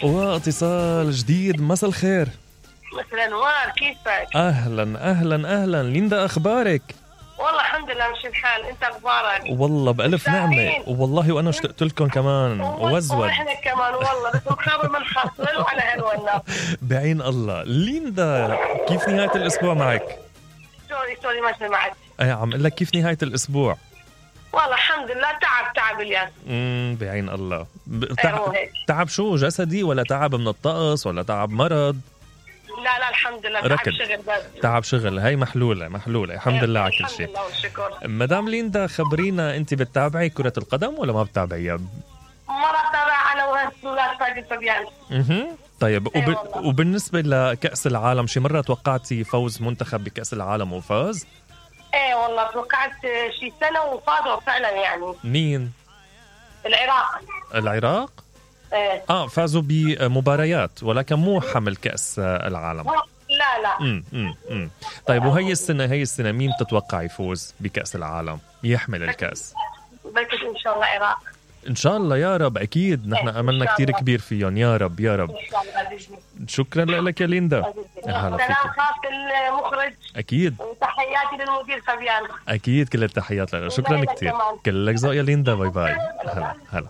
واتصال جديد. مساء الخير. مساء الانوار، كيفك؟ اهلا ليندا، اخبارك؟ والله الحمد لله مش الحال، انت اخبارك؟ والله بألف نعمة والله، وانا اشتقت لكم كمان وازود. ونحن كمان والله، بس مخابر من خاطر على هالونا. بعين الله. ليندا كيف نهاية الاسبوع معك؟ سوري ما سمعت. عم اقول لك كيف نهاية الاسبوع؟ والله الحمد لله تعب اليوم. بعين الله. تعب شو، جسدي ولا تعب من الطقس ولا تعب مرض؟ لا الحمد لله ركض. تعب شغل بس. تعب شغل، هاي محلولة الحمد لله على كل شيء. الحمد لله والشكر. مدام ليندا خبرينا، انت بتتابعي كرة القدم ولا ما بتتابعيها؟ ما بتابع انا وهالسولات فادي فبيان. طيب وبالنسبة لكأس العالم، شي مرة توقعتي فوز منتخب بكأس العالم وفاز؟ ايه والله توقعت شي سنة وفازوا فعلا يعني. مين؟ العراق؟ ايه. فازوا بمباريات ولكن مو حمل كأس العالم. لا. طيب وهي السنة مين تتوقع يفوز بكأس العالم يحمل الكأس؟ بلكي ان شاء الله العراق. ان شاء الله يا رب، اكيد نحن املنا كتير كبير فيهم يا رب. شكرا لك يا ليندا. سلام خاص المخرج اكيد، وتحياتي للمدير فبيان. اكيد كل التحيات لك. شكرا كتير، كلك ذوق يا ليندا. باي باي. هلا